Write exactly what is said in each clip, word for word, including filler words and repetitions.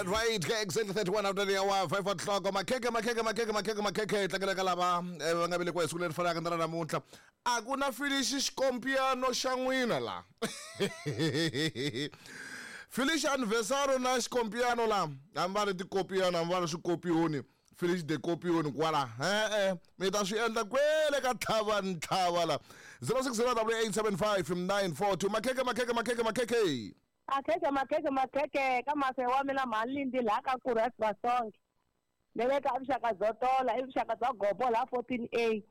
Right, exactly thirty-one after the hour, five o'clock. Makhekhe, makhekhe, makhekhe, makhekhe, makhekhe. Tlangela ka lava eh, va nga velekiwa hi siku leri fanaka na ra namuntlha. A ku na Felicia xikompiano xa n'wina la. Felicia anniversary na xikompiano la. Hambi va ri tikopiano, hambi va ri swikopioni. Felicia de kopioni kwala. Eh eh, mi ta swi endla kwele ka tlhava ntlhava la. zero six zero eight seven five nine four two. Makhekhe, makhekhe, makhekhe, makhekhe. Makhekhe, makhekhe, makhekhe ka mase wa mina mhani laha ka Kurhas Vasonke. Ne le ka vuxaka byo tola, i vuxaka bya gobo laha fourteen A.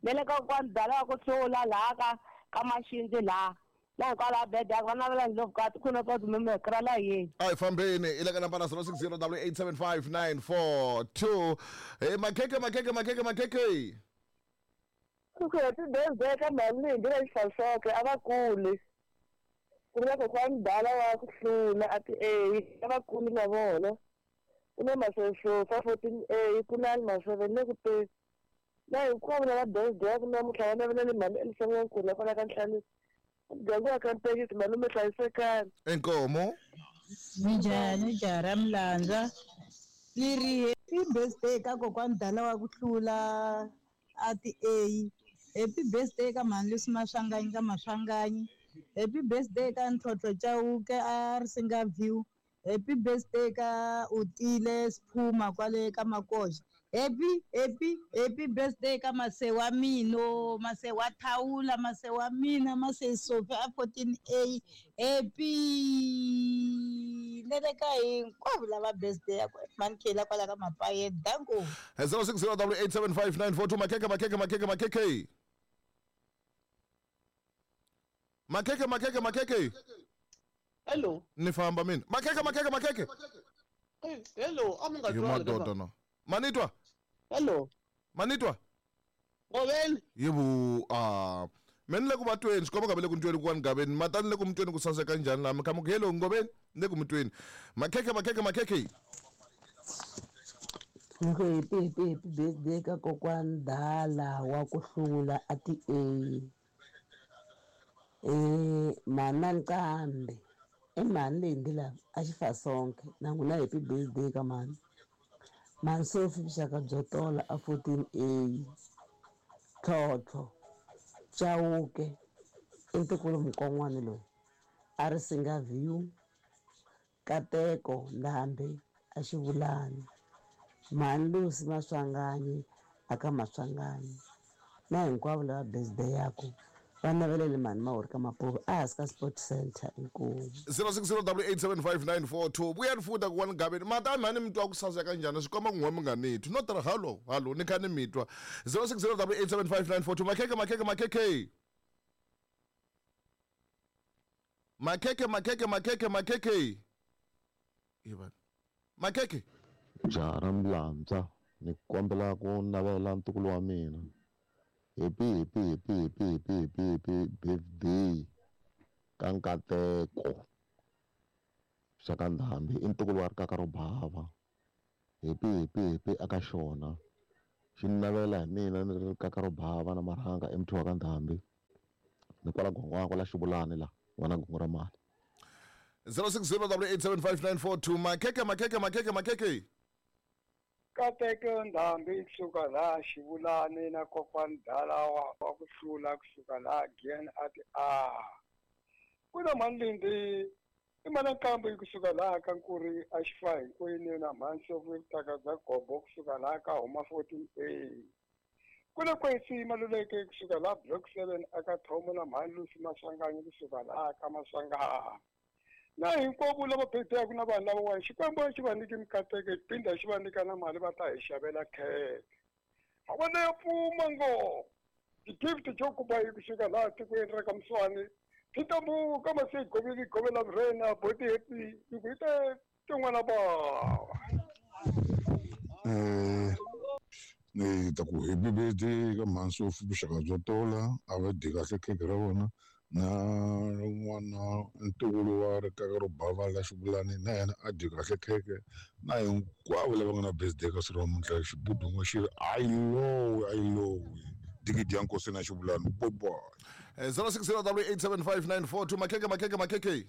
Ne le ka kokwani Dala wa ku hlula laha ka ka Maxindzi laha. Laha hikwalaho bede va navela ndlopfu ka tikhuna ta timemekra la yeni. A hi fambeni i le ka nambara zero six zero eight seven five nine four two. Hey, makhekhe, makhekhe, makhekhe, makhekhe. Ku happy birthday ka mhani Lindi la Xifasonke a va kuli. Ku na kokwani Dala wa ku hlula a ti A, a va kuli na vona. Ku na Masosofa fourteen A, ku na Maseve le ku te. Na hinkwavo lava birthday ku namuntlha va navela ni mhani Elisa N'wankulu kwala ka Nhlanu. Muganga wa ka Mpekisi malume hlayisekani. Inkomo. Minjhani jaha ra Mlandza? Ni ri happy birthday ka kokwani Dala wa ku hlula a ti A. Happy birthday ka mhani Lucy Maswanganyi ka Maswanganyi. Happy birthday ka Ntlhontlho Chauke a Risinga View. Happy birthday ka Utile Siphuma kwale ka Makoxa. Happy, happy, happy birthday ka mase wa mino, mase wa Thawula, mase wa mina, mase Sophie a fourteen A. Happy le le ka hinkwavo lava birthday ya mhani Khela kwala ka Mapaye. Danko. zero six zero eight seven five nine four two. Makhekhe, makhekhe, makhekhe, makhekhe. Makhekhe, makhekhe, makhekhe. Hello. Ni famba mina. Makhekhe, makhekhe, makhekhe. Hey, hello, a mi nga Hi madoda no. Manitwa. Hello. Manitwa. Ngoveni. Yebo, ah, mina le ku va tweni, xikomba ka le ku ntweni ku ngaveni, matani le ku mutweni ku saseka njhani la, mi kha mi ku hello Ngoveni, le ku mutweni. Makhekhe, makhekhe, makhekhe. Ni ku happy, happy, happy birthday ka kokwani Dala wa ku hlula a ti A. Eh, mhani Nqambi. I mhani Lindi la a Xifasonke na n'wina happy birthday ka mhani. Mhani Sophie vuxaka byo tola a fourteen A. Tlhontlho Chauke i ntukulu mukon'wana loyi a Risinga View. Kateko Ndhambi a Xivulani. Mhani Lucy Maswanganyi a ka Maswanganyi. Na hinkwavo lava birthday yaku va navelele mhani Mahori ka Mapuve a hansi ka Sport Center. Inkomu. zero six zero eight seven five nine four two. Vuyani futa ku wani gaveni. Mata mhani mi twa ku saseka njhani swi komba ku n'we mi nga ni twi. No tirha halo, halo ni kha ni mi twa. zero six zero eight seven five nine four two. Makhekhe, makhekhe, makhekhe. Makhekhe, makhekhe, makhekhe, makhekhe. Ivan. Makhekhe. Jaha ra Mlandza, ni kombela ku navela ntukulu wa mina. Happy, happy, happy, happy, happy, happy, happy birthday ka Nkateko xa ka Ndhambi, i ntukulu wa rikaka ro bava. Happy, happy, happy aka xona. Xi ni navela hi mina ni ri rikaka ro bava na marhanga emutini wa ka Ndhambi. Ni kwala Gongwana kwala Xivulani la, n'wana Gongo ra mali. zero six zero eight seven five nine four two. Makhekhe, makhekhe, makhekhe, makhekhe. Kateke Ndhambi kusuka laha Xivulani na kokwani Dala wa wa ku hlula kusuka laha Giyani a ti A. Ku na mhani Lindi i mhani Nqambi kusuka laha ka Nkuri a Xifa hinkwenu na mhani Sophie vutaka bya gobo kusuka laha ka Homa fourteen A. Ku na Kwesi Maluleke kusuka laha Block seven aka Thomo na mhani Lucy Maswanganyi kusuka laha ka Maswanganyi. Na hinkwavo lava birthday ku na vanhu lava Xikwembu xi va nyike mikateko phinda xi va nyika na mali va ta hi xavela khekhe. A vona ya pfuma ngopfu. Ti-gift jo kuba hi kusuka laha tikweni ra ka Mswani. Tintambu ka mase goveli govela vrena boti happy hi ku ite tin'wana ba. Eh, ni ta ku happy birthday ka mhani Sophie vuxaka byo tola, a va dyi kahle khekhe ra vona. Na n'wana ntukulu wa rikaka ro bava la Xivulani na yena a dyi kahle khekhe. Na hinkwavo lava nga na birthday ka siku ra namuntlha xibudun'we xi ri ayi lowi ayi lowi. Digidi ya Nkosi na Xivulani. Bye bye. zero six zero eight seven five nine four two. Makhekhe, makhekhe, makhekhe.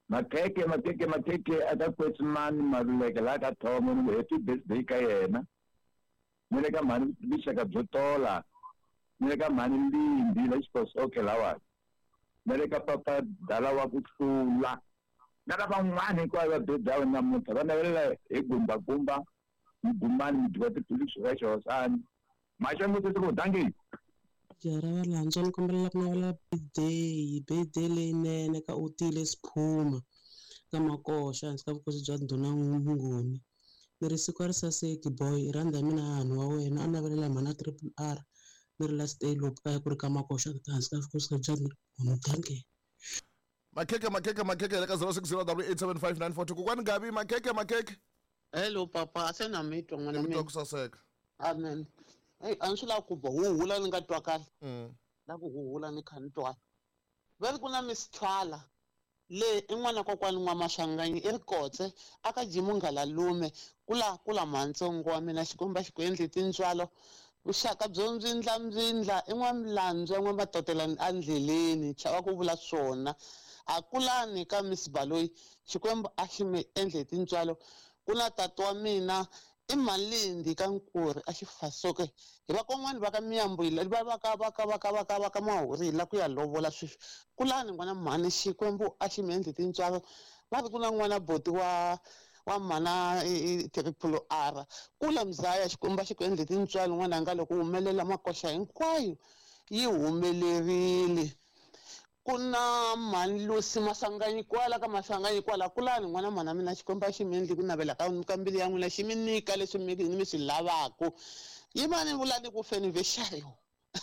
Makeke makeke makeke aka Kwetsimani Maluleke laha ka Thomo ni ku happy birthday ka yena. Ni le ka mhani vuxaka byo tola. Ni le ka mhani Lindi la Xiposoke lawani. Ni le ka papa Dala wa ku hlula. Na ka van'wana hinkwavo va birthday ya namuntlha va navelela hi gumba gumba Mugumani Mudyiwa Tiphilisi ra Xihosani. Maxangu ku dangi. Jara va lantswa ni kombela ku navela birthday birthday leyinene ka Utile Siphuma ka Makoxa hansi ka vukosi bya Ndhuna Nguni. Ni ri siku a ri saseki boy rhanda mina hanhu wa wena a navelela mhana triple R ni ri last day lopu kaya ku ri ka Makoxa hansi ka vukosi bya Ndhuna. Dankie. Makeke makeke makeke le ka zero six zero double eight seven five nine four two. Kokwani Gabi makeke makeke. Hello papa, a se na mi twa n'wana Mi mina. twa ku saseka. Amen. Hey, a ni swi lavi ku ba huhula ni nga twa kahle. Mm. La ku huhula ni kha ni twa. Va ri ku na Miss Twala le i n'wana kokwani N'wamaswanganyi i ri kotse a ka Jimu Ngalalume kula kula mhantsongo wa mina Xikwembu a xi ku endli tintswalo vuxaka byo mbyindla mbyindla i n'wamilandzwa n'wamatotela endleleni chava ku vula swona a kulani ka Miss Baloyi Xikwembu a xi mi endle tintswalo ku na tata wa mina i Malindi ka Nkuri a xi fasoke hi vakon'wana va ka Miyambu va va ka va ka va ka va ka va ka Mahuri la ku ya lovola sweswi kulani n'wana mhani Xikwembu a xi mi endle tintswalo va ri ku na n'wana boti wa wa mhana triple R kula mzaya Xikwembu a xi ku endle tintswalo n'wananga loko humelela Makoxa hinkwayo yi humelerile ku na mhani Lucy Maswanganyi kwala ka Maswanganyi kwala kulani n'wana mhana mina Xikwembu a xi mi endli ku navela ka ka mbilu ya n'wina xi mi nyika leswi mi mi swi lavaku yimani vulani ku feni vexayo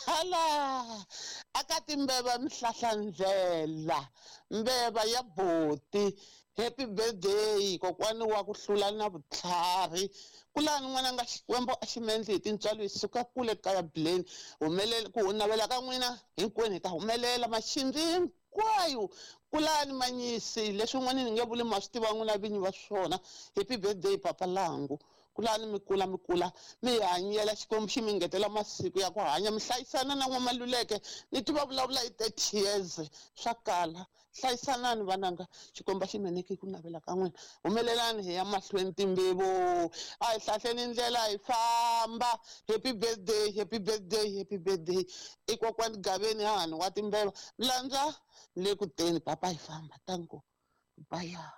hala aka timbeva mihlahlandlela mbeva ya boti happy birthday kokwani wa ku hlula na vutlhari kulani n'wananga Xikwembu a xi mi endli hi tintswalo hi suka kule kaya Bleni humelela ku navela ka n'wina hinkwenu hi ta humelela maxindzi hinkwayo kulani manyisi leswi n'wana ni nge vuli ma swi tiva n'wina vinyi va swona happy birthday papa Langu kulani mi kula mi kula mi hanyela Xikwembu xi mi ngetela masiku ya ku hanya mi hlayisana na N'wamaluleke ni tiva vulavula hi thirty years swa kala hlayisanani vananga Xikwembu xi mi nyiki ku navela ka n'wina humelelani hi ya mahlweni timbevo a hi hlahleni ndlela hi famba happy birthday happy birthday happy birthday i kokwani Gaveni hahani wa timbeva landza le ku teni papa hi famba tanko baya.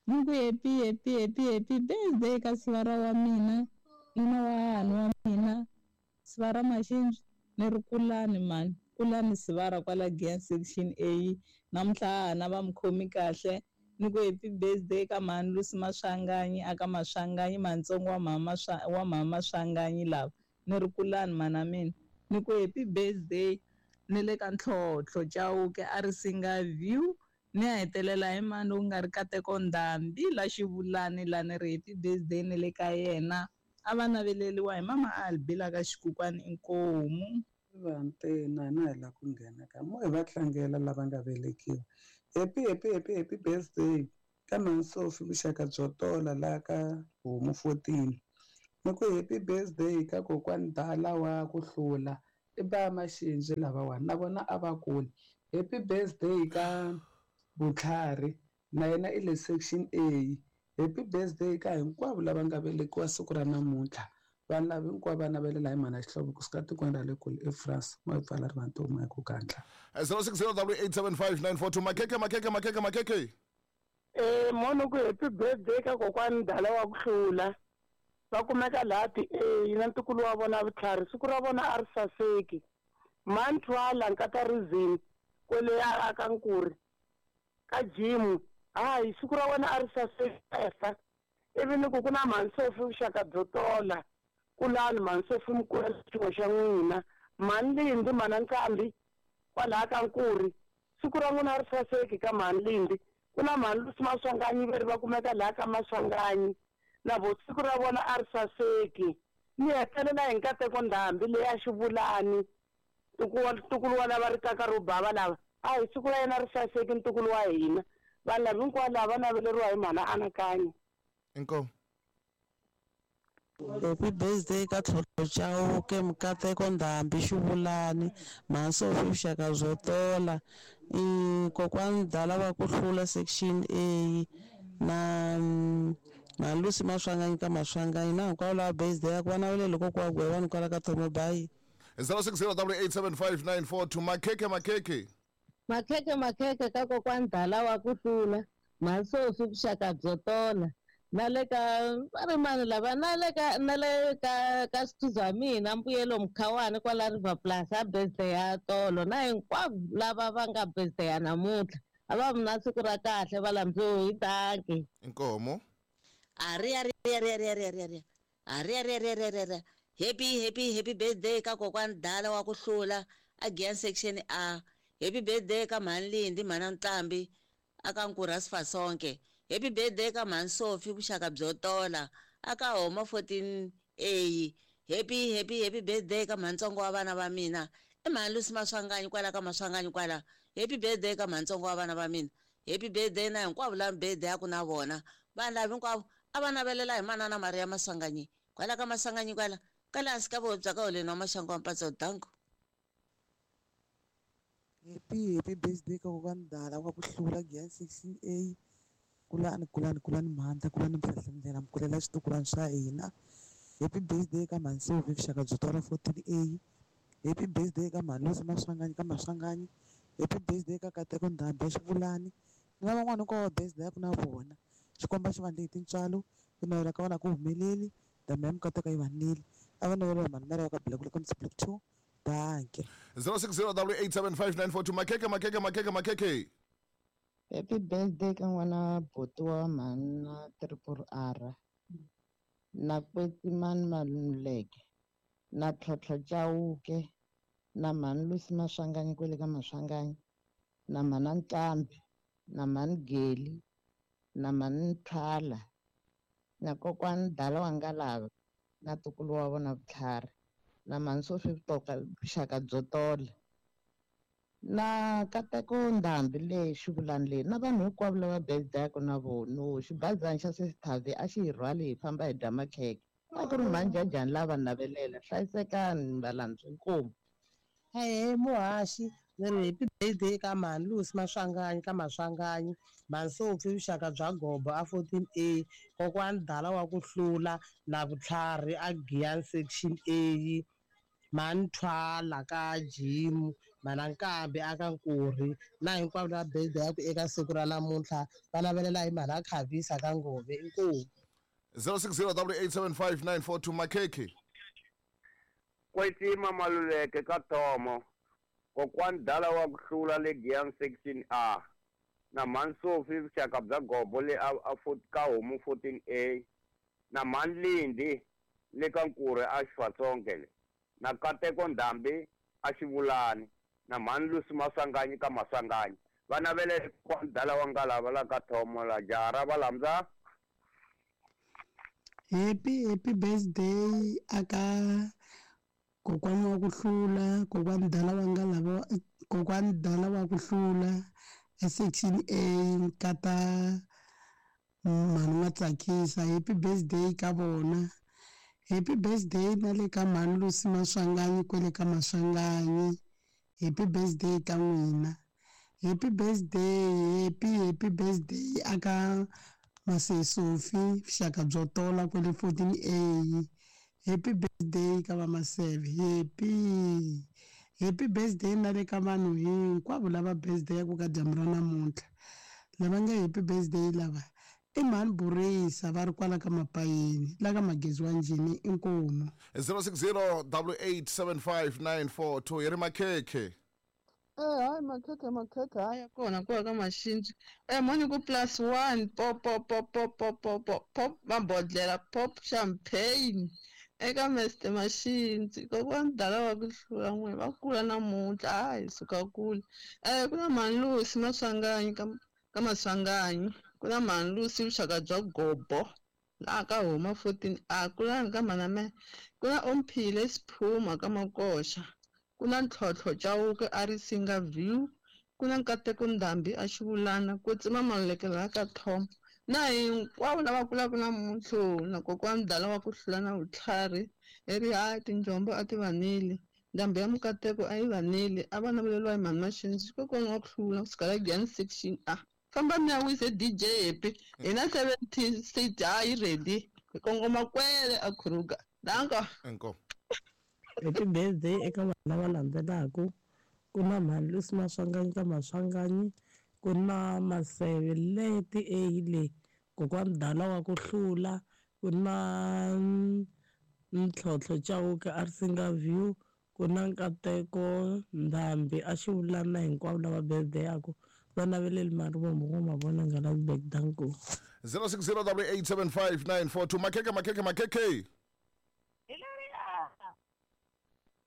Ni ku happy happy happy happy birthday ka sivara wa mina nuna wa hahani wa mina sivara Maxindzi ni ri kulani mani kulani sivara kwala Giant section A namuntlha hahana va mi khomi kahle ni ku happy birthday ka mhani Lucy Maswanganyi aka Maswanganyi mantsongo wa mhama wa mhama Maswanganyi lava ni ri kulani mana mina ni ku happy birthday ni le ka Ntlhontlho Chauke a ri singa view ni ya hetelela hi mani u nga ri Kateko Ndhambi la Xivulani la ni ri happy birthday ni le ka yena a va naveleliwa hi mama Albi la ka Xikukwani Inkomu. Vantena na hi la ku nghena ka mo hi va tlangela lava nga velekiwa happy happy happy happy birthday ka Mansofi vuxaka byo tola la ka Homu fourteen ni ku happy birthday ka kokwani Dala wa ku hlula i ba Maxindzi lavawani na vona a va kuli happy birthday ka Vutlhari na yena i le section A happy birthday ka hinkwavo lava nga velekiwa siku ra namuntlha vanhu lava hinkwavo va navelela hi mhana Xihlovo kusuka tikweni ra le kule eFrance mo hi pfala rivantomi hi ku gandla. zero six zero double eight seven five nine four two makeke makeke makeke makeke. Eh mono ku happy birthday ka kokwani Dala wa ku hlula va kumeka laha ti A na ntukulu wa vona Vutlhari siku ra vona a ri saseki Mantwala nkata Rizini kwele a ka Nkuri ka Jimu hayi siku ra wena a ri saseka ivi ni ku ku na Mansofi vuxaka byo tola kulani Mansofi mikwela xin'we xa n'wina mhani Lindi mhana Nkambi kwalaha ka Nkuri siku ra n'wina a ri saseki ka mhani Lindi ku na mhani Lucy Maswanganyi veri va kumeka laha ka Maswanganyi na vo siku ra vona a ri saseki ni hetelela hi Nkateko Ndhambi leyi a Xivulani ntukulu wa lava ri kaka ro bava lava a hi siku ra yena ri saseki ntukulu wa hina vanhu lava hinkwavo lava va naveleriwa hi mhana Anakanyi. Inkomu. Happy birthday ka Tlhontlho Chauke, Mukateko Ndhambi Xivulani, Mhani Vuxaka byo tola, kokwani Dala va ku hlula section A na Mhani Lucy Maswanganyi ka Maswanganyi na hinkwavo lava birthday ya ku va naveleli kokwa Gwevani kwala ka Thomo Bayi. zero six zero double eight seven five nine four two. Makhekhe makhekhe. Makhekhe makhekhe ka kokwani Dala wa ku hlula, Mhani Sophie Vuxaka byo tola. Na le ka va ri mani lava na le ka na le ka ka swithuza mina Mbuyelo Mkhawani kwala River Plus a birthday ya tolo na hinkwavo lava va nga birthday ya namuntlha a va vi na siku ra kahle va lambiwe hi danki. Inkomo. Ari ari ari ari ari ari ari ari ari ari ari ari happy happy happy birthday ka kokwani Dala wa ku hlula again section A. Happy birthday ka Mhani Lindi Mhana Nqambi aka Nkurha Sifasonke. Happy birthday ka Mhani Sophie Vuxaka byo tola aka Homa fourteen A. Happy happy happy birthday ka Mhani Ntsongo wa vana va mina i Mhani Lucy Maswanganyi kwala ka Maswanganyi kwala. Happy birthday ka Mhani Ntsongo wa vana va mina. Happy birthday na hinkwavo lava birthday ya ku na vona vanhu lava hinkwavo a va navelela hi manana Maria Maswanganyi kwala ka Maswanganyi kwala kwala hansi ka vobya ka holeni wa Maxangu wa Mpatso. Danko. Happy happy birthday ka kokwani Dala wa ku hlula Giyani sixteen A. Kulani kulani kulani mhandla kulani mhlahlandlela mkulela xitukulwana swa hina. Happy birthday ka Mhani Sophie Vuxaka byo tola fourteen A. Happy birthday ka Mhani Lucy Maswanganyi ka Maswanganyi. Happy birthday ka Kateko Ndhambi Xivulani na van'wana hinkwavo birthday ya ku na vona. Xikwembu xi va ndle hi tintswalo ku navela ka vona ku humeleli ndhambi ya Mukateko yi va neli a va navela Mhani Maria wa ka Black ka Mtsi two. Danke. zero six zero double eight seven five nine four two. Makhekhe makhekhe makhekhe makhekhe. Happy birthday ka n'wana buti wa mhani na triple R na Kwetsimani Maluleke na Tlhontlho Chauke na Mhani Lucy Maswanganyi kwele ka Maswanganyi na Mhana Nqambi na Mhani Geli na Mhani Thwala na kokwani Dala wa Ngalava na ntukulu wa vona Vutlhari na Mhani Sophie Vuxaka byo tola na Kateko Ndhambi leyi Xivulani leyi na vanhu hinkwavo lava birthday-aku na vona. Xibazana xa Sesithavi a xi hi rhwali hi famba hi dya makhekhe a ku ri mhani Jajani lava navelela. Hlayisekani valandzi inkomu. Hehe muhaxi ni ri happy birthday ka Mhani Lucy Maswanganyi ka Maswanganyi, Mhani Sophie Vuxaka bya Gobo a fourteen A, kokwani Dala wa ku hlula na Vutlhari a Giyani section A, Mhani Thwala ka Jim, Mhana Nkambi aka Nkurhi na hinkwavo lava birthday ya ku eka siku ra namuntlha va navelela hi Mhana Khavisa ka Ngove. Inkomu. zero six zero double eight seven five nine four two. Makhekhe. Kwetsima Maluleke ka Thomo, kokwani Dala wa ku hlula le Giyani section A na Mhani Sophie Vuxaka bya Gobo le a, a ka Homu fourteen A na Mhani Lindi le ka Nkurhi a Xifatsonke le na Kateko Ndhambi a Xivulani na Mhani Lucy Maswanganyi ka Maswanganyi va navelela kokwani Dala wa Ngalava la ka Thomo la jaha ra Valamza. Happy happy birthday aka kokwani wa ku hlula, kokwani Dala wa Ngalava, kokwani Dala wa ku hlula section A nkata Mhani Matsakisa. Happy birthday ka vona. Happy birthday na le ka Mhani Lucy Maswanganyi kwele ka Maswanganyi. Happy birthday ka n'wina. Happy birthday, happy happy birthday aka Mase Sophie Vuxaka byo tola kwele fourteen A. Happy birthday ka va Maseve. Happy happy birthday na le ka vanhu hinkwavo lava birthday ya ku ka dyambu ra namuntlha lava nga happy birthday lava i Mhani Burisa va ri kwala ka Mapayeni la ka Magezi wa Njhini. Inkomu. zero six zero double eight seven five nine four two. Hi ri makhekhe. Eh hayi makhekhe makhekhe hayi kona kuya ka Maxinji. Eh moni ku plus one pop pop pop pop pop pop pop pop mabodlela pop champagne eka Mister Maxinji kokwani Dala wa ku hlula n'we va kula namuntlha hayi suka kule. Eh ku na Mhani Lucy Maswanganyi ka ka Maswanganyi ku na Mhani Lucy Vuxaka bya Gobo laha ka Homa fourteen A kulani ka Mhana ku na Omphile Siphuma ka Makoxa ku na Ntlhontlho Chauke a ri Singa View ku na Nkateko Ndhambi a Xivulana ku tsima Maluleke laha ka Tom Na hinkwavo lava kulaka namuntlha na kokwani Dala wa ku hlula na vutlhari i ri hayi tinjombo a ti vanile ndhambi ya mikateko a yi vanile a va naveleriwa hi mhani Maxinzi kokwani wa ku hlula kusuka la Giyani section A famba mi ya wise D J Happy hi na seventeen state ha yi ready hi kongoma kwele a Kruger danko inkomu. Happy birthday eka vanhu lava landzelaka ku na mhani Lucy Maswanganyi ka Maswanganyi ku na Maseve leti eyile kokwani Dala wa ku hlula ku na Ntlhontlho Chauke a ri Singa View ku na Nkateko Ndhambi a xi vula na hinkwavo lava birthday yaku va naveleli mari vomu vo mavona nga la back danko zero six zero double eight seven five nine four two makeke makeke makeke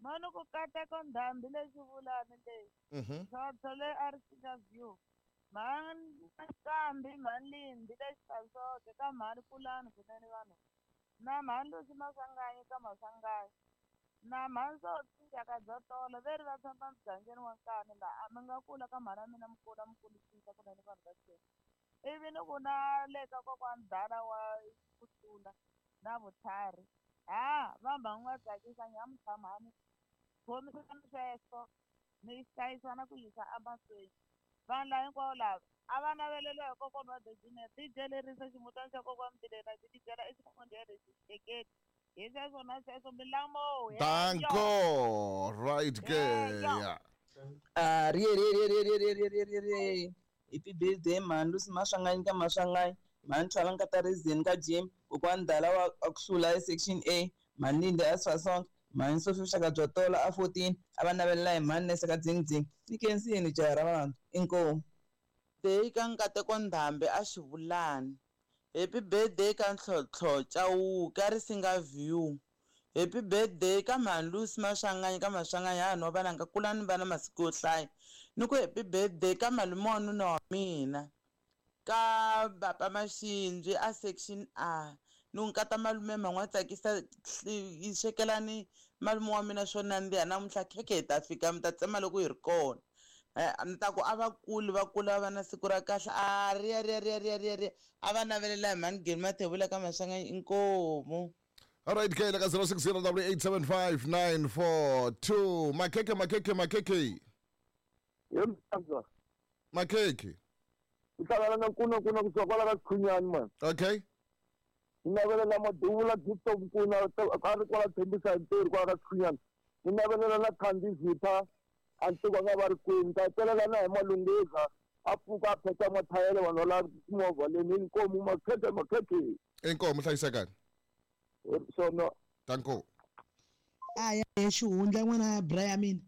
Mano ku kateko ndhambi lexi vulani leyi ntlhontlho leyi a ri Singa View mhani Nkambi mhani Lindi lexi Fasoke ka mhani Pulani kunene vanhu na mhani Lucy Maswanganyi ka Maswanganyi na mhani Sophie Xaka byo tola veri va tshama mugangeni wa Nkani laha a mi nga kula ka mhani ya mina mi kula mi kulisisa kunene vanhu va Xikwembu ivi ni ku na le ka kokwani Dala wa ku hlula na vutlhari ha va mhangu va tsakisa nyamuntlha mhani khomisana sweswo mi hlayisa na ku yisa emahlweni vanhu lava hinkwavo lava a va naveleliwa hi kokwani wa Dejine D J lerisa ximutana xa kokwani Mbilena xi tibyela eximondeni xixeketi hi sweswo na sweswo milamo danko right ke yeah ah ri ri ri ri ri ri ri ri ri happy birthday mhani Lucy Maswanganyi ka Maswanganyi mhani Thwala Nkatarizini ka Jim kokwani Dala wa ku hlula section A mhani Lindi a Sasonke mhani Sophie Vuxaka byo tola a fourteen a va navelela hi mhani Nese ka Dzingdzing ni khensini jaha ra vanhu inkomu Day ka Nkateko Ndhambi a xivulani happy birthday ka Ntlhontlho Chauke a ri Singa View happy birthday ka mhani Lucy Maswanganyi ka Maswanganyi ha no vana nga kulani vana masiku yo hlaya ni ku happy birthday ka malume wa nuna wa mina ka Papa Maxinzi a section A ni n'wi kata malume man'we tsakisa yi swekelani malume wa mina swo nandziha namuntlha khekhe hi ta fika mi ta tsema loko hi ri kona ni ta ku a va kuli va kula va na siku ra kahle a riya riya riya riya riya riya a va navelela hi mhani Geni Mathebula ka Maswanganyi inkomu. All right ke ka zero six zero double eight seven five nine four two makeke makeke makeke yemza makeke uhlangana na nkuna nkuna kusuka kwala ka Sikhunyani man. Okay ni navelela Maduvula Gift of Nkuna a ri kwala Tshembisa ntirho kwala ka Sikhunyani ni navelela na Thandi Zitha a ntiko nga va ri kwini ta hetelela na hi Malungheza a pfuka a pheta mathayele vanhu va timovha leni inkomu makeke makeke inkomu hlayisekani swona danko a ya xihundla n'wana ya bra ya mina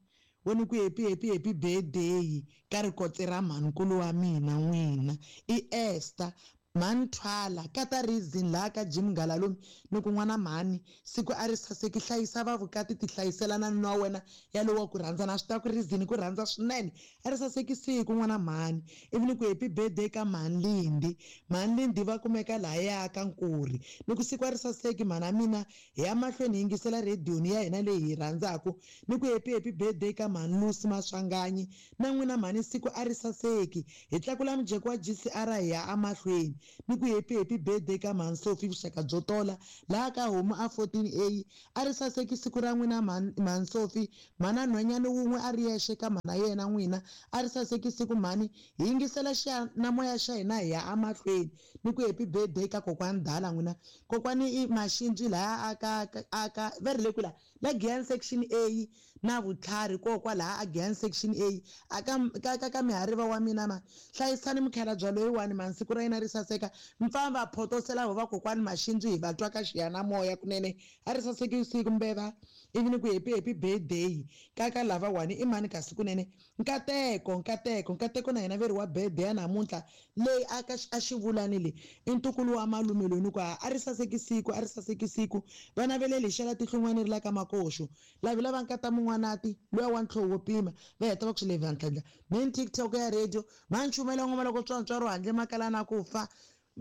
wena ku happy happy happy birthday ka rikotse ra mhankulu wa mina n'wina i Esther mhani Thwala kata reason laha ka Jim Ngalalumi ni ku n'wana mhani siku a ri saseki hlayisa va vukati ti hlayiselana nuna wa wena yalowo ku rhandza na swi ta ku reason ku rhandza swinene a ri saseki siku n'wana mhani ivi ni ku happy birthday ka mhani Lindi mhani Lindi va kumeka lahaya ka Nkuri ni ku siku a ri saseki mhana mina hi ya mahlweni hi yingisela rediyo ya hina leyi hi rhandzaka ni ku happy happy birthday ka mhani Lucy Maswanganyi na n'wina mhani siku a ri saseki hi tlakula mujeko wa G C R hi ya emahlweni ni ku happy happy birthday ka mhani Sophie Vuxaka byo tola laha ka homu a fourteen A a ri saseki siku ra n'wina mhani Sophie mhana nhwanyana wun'we a ri yexe ka mhana yena n'wina a ri saseki siku mhani hi yingisela xiyanimoya xa hina hi ya emahlweni ni ku happy birthday ka kokwani Dala n'wina kokwani i Maxinzi laha aka aka va ri le kula la Giyani section A na vutlhari kokwa laha a Giyani section A aka ka ka mihariva wa mina ma hlayisani mukhalabye loyiwani mhani siku ra yena ri saseka mpfamba photosela va kokwani Maxinzi hi va twa ka xiyanimoya kunene a ri saseki siku mbeva ivi ni ku happy happy birthday ka ka lava wani i mani kasi kunene nkateko nkateko nkateko na yena veri wa birthday ya namuntlha leyi a ka a xivulani le i ntukulu wa malume loyi ni ku a ri saseki siku a ri saseki siku va naveleli xela tihlungwana ri la ka makoxo lavi lava nkata mun'wanati luya wa ntlhoho wo pima va heta va ku swi levha ntlhandla main TikTok ya radio va nchumela ngoma loko tswantswaro handle makala na ku fa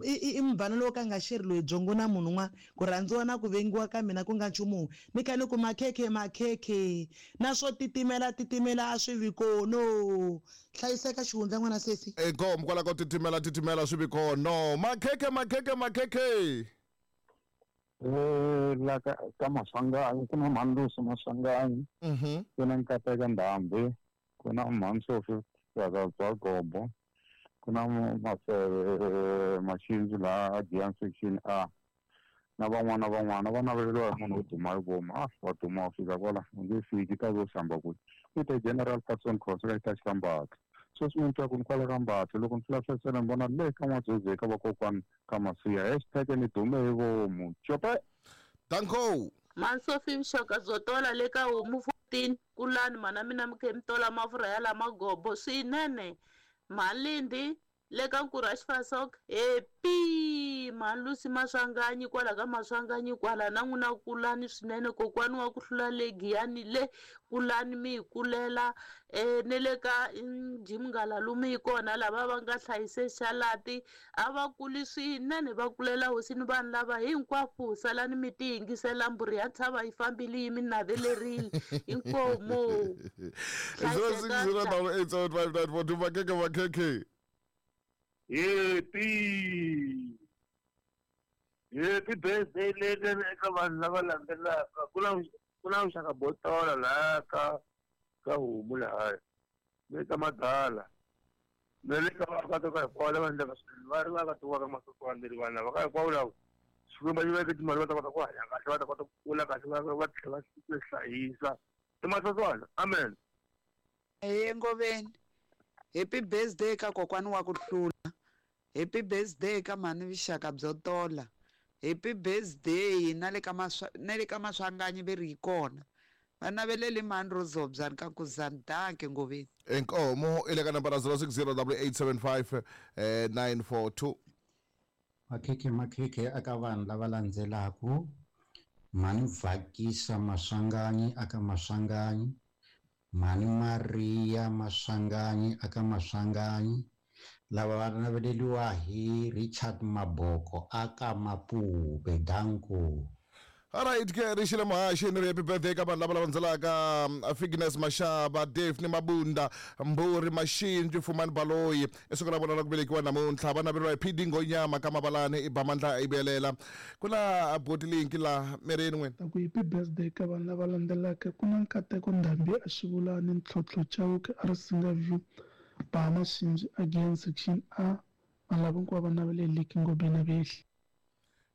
I mubvana lowu ka nga xeri loyi byongo na munhu un'wana ku rhandziwa na ku vengiwa ka mina ku nga nchumu wun'we ni kha ni ku makhekhe makhekhe na swo titimela titimela a swi vi kono hlayiseka xihundla n'wana sesi inkomu kwala ko titimela titimela swi vi kono makhekhe makhekhe makhekhe Eh la ka ka Maswanganyi ku na Mandusi Maswanganyi ku na Nkateka Ndhambi ku na Mhansofi bya Gobo ku na Maseve Maxindzu laha Giyani section A na van'wana van'wana va naveleriwa hi munhu wo duma hi vomu a wa duma wa fika kwala u nge fiki ta vo hlamba kwihi i te General Patson Khosa ka xitachi ka Mbatha sweswi mi twa ku ni kwala ka Mbatha loko ni hlahlasela ni vona le ka N'wadzodzi ka vakokwani ka Masiya hashtag ni dume hi vomu cope danko Mansofi vuxaka byo tola le ka homu fourteen kulani mana mina mi khe mi tola mafurha ya lama gobo swinene Malindi le ka Nkurhu wa Xifasok happy Malusi Maswanganyi kwala ka Maswanganyi kwala na n'wina kulani swinene kokwani wa ku hlula le Giyani le kulani mi hi kulela um ne le ka Jim Ngalalume yi kona lava va nga hlayise xalati a va kuli swinene va kulela hosini vanhu lava hinkwavo salani mi ti yingisela mbhuri ya ntshava yi fambile yi mi navelerile inkomu zero six zero double eight seven five nine four two makhekhe makhekhe Happy Happy birthday leke eka vanhu lava landzelaka ku na ku na vuxaka byo tola laha ka ka homu lahaya le ka madala na le ka vaakatiko hinkwavo lava endlaka swilo va ri vaakatiko ka masokwane vanhu lava ka hinkwavo lava Xikwembu xi veke timali va ta kota ku hanya kahle va ta kota ku kula kahle va va tlhela va hlayisa i masokwana amen Hey Ngoveni happy birthday ka kokwani wa ku hlula happy birthday ka mhani vuxaka byo tola happy birthday na le ka maswa na le ka Maswanganyi ve ri yi kona va naveleli mhani Rozobyani ka Kuzani danke Ngoveni inkomo i le ka nambara zero six zero double eight seven five nine four two makhekhe makhekhe aka vanhu lava landzelaku mhani Vhakisa Maswanganyi aka Maswanganyi mhani Maria Maswanganyi aka Maswanganyi lava va naveleliwa hi Richard Maboko aka Mapube danko Alright ke ri xile muhaxi ni ri happy birthday ka vanhu lava lava landzelaka Fignes Mashaba Daphne Mabunda Mburi Maxindzu Fumani Baloyi i siku ra vona ra ku velekiwa namuntlha va naveriwa hi P D Ngonyama ka Mabalani i Bamandla i Belela ku na boti linki laha mirini n'wina ku happy birthday ka vanhu lava landzelaka ku na Nkateko Ndhambi a Xivulani Ntlhontlho Chauke a ri Singa View Ba Maxindzu again section A vanhu lava hinkwavo va naveleleki Ngobeni vehli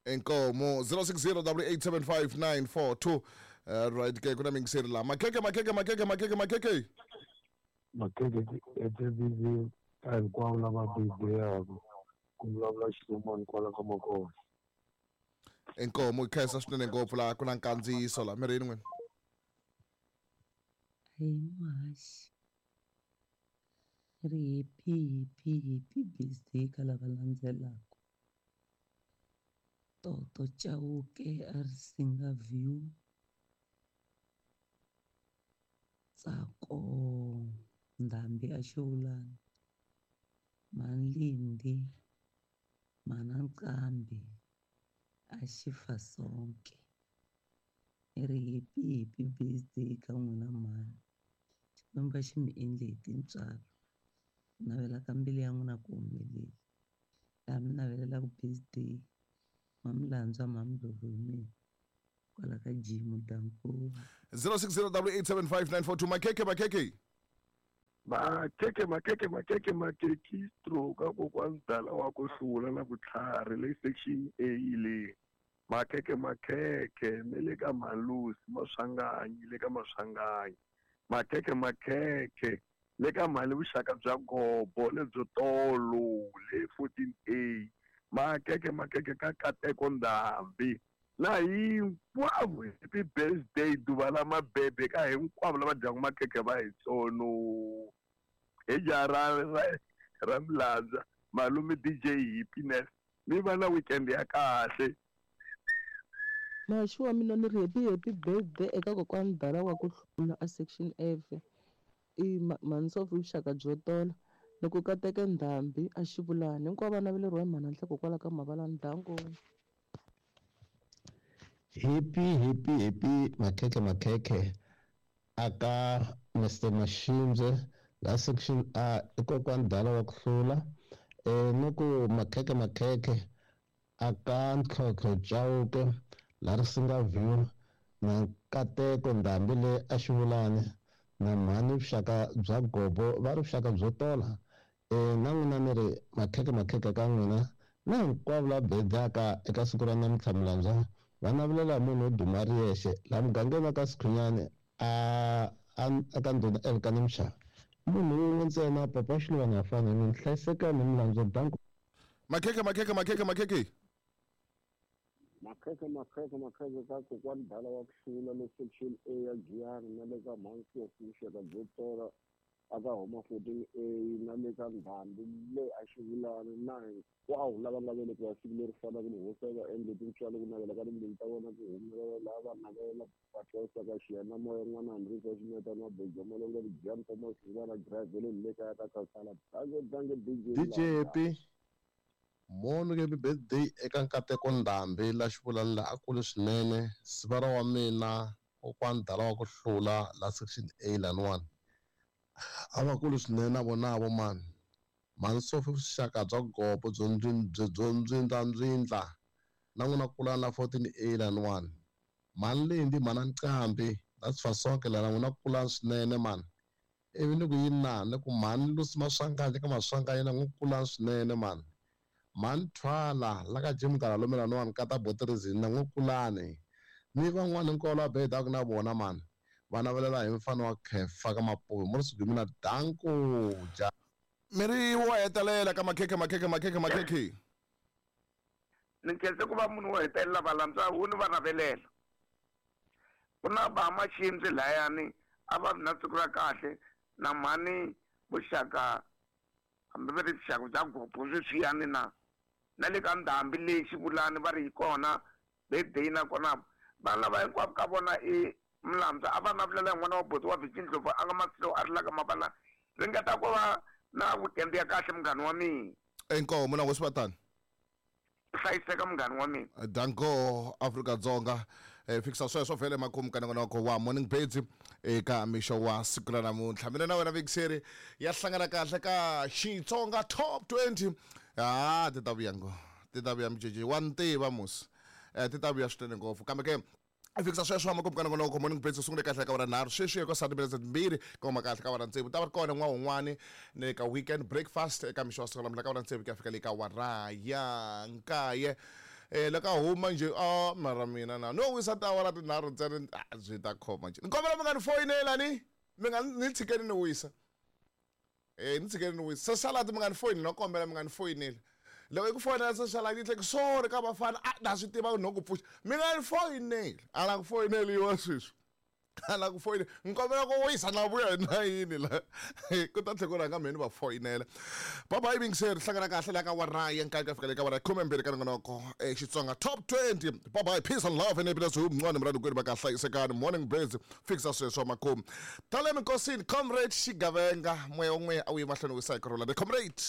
inkomo zero six zero double eight seven five nine four two uh, right ke kuna mingiseri la makhekhe makhekhe makhekhe makhekhe makhekhe makhekhe etv ka hinkwavo lava birthday-yaku ku vulavula Xilumani kwala ka Makona inkomo yi khensa swinene ngopfu laha ku na nkandziyiso laha mirini n'wina Hey muhaxi ri happy happy happy birthday ka lava landzelaka Toto Chauke a ri Singa View Tsako Ndhambi a Xivulani Malindi Mana Nqambi a Xifasonke i ri happy happy birthday ka n'wina mhani Xikwembu a xi mi endle hi tintswalo ku navela ka mbilu ya n'wina ku humelela laha mi navelelaka birthday Mamlandzwa Mamdlovu hi mina kwala ka Jim Danko zero six zero double eight seven five nine four two makhekhe makhekhe makhekhe makhekhe makhekhe makhekhe stroke kokwani dala wa ku hlula na vutlhari le section A le makhekhe makhekhe ne le ka Malusi Maswanganyi le ka Maswanganyi makhekhe makhekhe le ka mali vuxaka bya gobo lebyo tolo le fourteen A makhekhe makhekhe ka Nkateko Ndhambi na hinkwavo happy birthday duva la mabebe ka hinkwavo lava dyaka makhekhe va hi tsono hi jaha ra ra ra Milandza malume D J Happiness mi va na weekend ya kahle Muhaxi wa mina ni ri happy happy birthday eka kokwani Dala wa ku hlula a section F i Mhansofi vuxaka byo tola Ni ku kateke Ndhambi a Xivulani. Hinkwavo va naveleriwa hi mhana Nhleko kwala ka Mavalani. Danko. Happy, happy, happy, makhekhe makhekhe aka Mister Mashimbye la section A i kokwani Dala wa ku hlula eh ni ku makhekhe makhekhe aka Ntlhontlho Chauke la Risinga View na Nkateko Ndhambi le a Xivulani na mhani vuxaka bya gobo va ri vuxaka byo tola eh na n'wina ni ri makhekhe makhekhe ka n'wina na hinkwavo la bedaka eka siku ra namuntlha Mulandzwa va navelela hi munhu wo duma ri yexe laha mugangeni wa ka Sikhunyani a a ka ndhuna Elkana Mshava munhu wun'we ntsena papa Xiluvana ha fana ni hlayisekani Mulandzwa. Danko. Makhekhe makhekhe makhekhe makhekhe makhekhe makhekhe makhekhe ka kokwani Dala wa ku hlula le section A ya Giyani na le ka Mhansofi vuxaka byo tola aka homa fourteen A na le ka Ndhambi le a Xivulani na hinkwavo lava nga velekiwa siku leri fanaka ni hosi va endle tintswalo ku navela ka timbilu ta vona ku humelela lava va navela va twa xiyanimoya n'wana Henrico Ximeta na Bojo Malonga Giyani Thomas Xingwana Gravele le kaya ka Kansala. Danke danke D J D J Happy Mono happy birthday eka Nkateko Ndhambi la Xivulani la a kule swinene sivara wa mina kokwani Dala wa ku hlula la section A laniwani a va kule swinene na vona vo mani mhani Sofi vuxaka bya gobo byo byo ndzindlandzindla na n'wina kulani la fourteen A laniwani mhani Lindi mhana Nqambi la Sifasonke la na n'wina kulani swinene mani ivi ni ku yini na ni ku mhani Lucy Maswanganyi ka Maswanganyi na n'wi kulani swinene mani mhani Thwala la ka Jim Galalo laniwani ka ta Botirizini na n'wi kulani ni van'wani hinkwavo lava bedaka na vona mani va navelela hi mfana wa Khefa ka Mapuve mo ri sugumina. Danko ja mi ri wo hetelela ka makhekhe makhekhe makhekhe makhekhe ni khense ku va munhu wo hetelela valandzwa wu ni va navelela ku na va Mashimbye layani a va ri na siku ra kahle na mhani vuxaka hambi va ri vuxaka bya gobo sweswiyani na na le ka Ndhambi leyi Xivulani va ri yi kona birthday nakona vanhu lava hinkwavo ka vona i Mulandzwa a va navelela n'wana wa buti wa Vicky Ndlovu a nga Masilo a ri la ka Mavala ringeta ku va na weekend ya kahle munghana wa mina. Inkomu na hosi hlayiseka munghana wa mina. Danko Afrika Dzonga eh fikisa sweswo vhele makumu ka nongonoko wa Morning Birds eka mixo wa siku ra namuntlha mina na wena Vixeri ya hlangana kahle ka Xitsonga Top twenty ah ti ta vuya ngo ti ta vuya mjeje wa ntiva musi eh ti ta vuya swinene ngopfu kambe ke fikisa sweswo makumu ka nongonoko Morning Birds sungule kahle ka wara nharhu sweswi eka sati minutes timbirhi koma kahle ka wara tsevu ta va kona n'wana un'wani ni ka weekend breakfast eka mixo wa siku ra namuntlha ka wara tsevu ku ya fika le ka wara ya nkaye eh loko a huma nje a mara mina na no wisa tawara tinharhu ntsena byi ta khoma nje ni kombela mi nga ni foyinela ni mi nga ni tshikeni ni wisa eh ni tshikeni ni wisa salad mi nga ni foyineli no kombela mi nga ni foyineli loko i ku foyinela salad yi tlhela sorry ka vafana a na swi tiva no ku pfuxa mi nga ni foyineli a la ku foyineliwa sweswi a la ku foyinela ni kombela ku wisa na vuya hi nayini la ku ta tlhela ku rhanga mheni va foyinela bye bye Vixeri hlangana kahle la ka wara ya nkaye ku ya fika le ka wara khume mbirhi ka nongonoko eh Xitsonga Top twenty bye bye peace and love and happiness mncwane mrani kwenu va ka hlayisekani Morning Birds fikisa sweswo makumu tale minkosini comrade Xigavenga moya wun'we a wu yi mahlweni wisa hi ku rhula the comrade.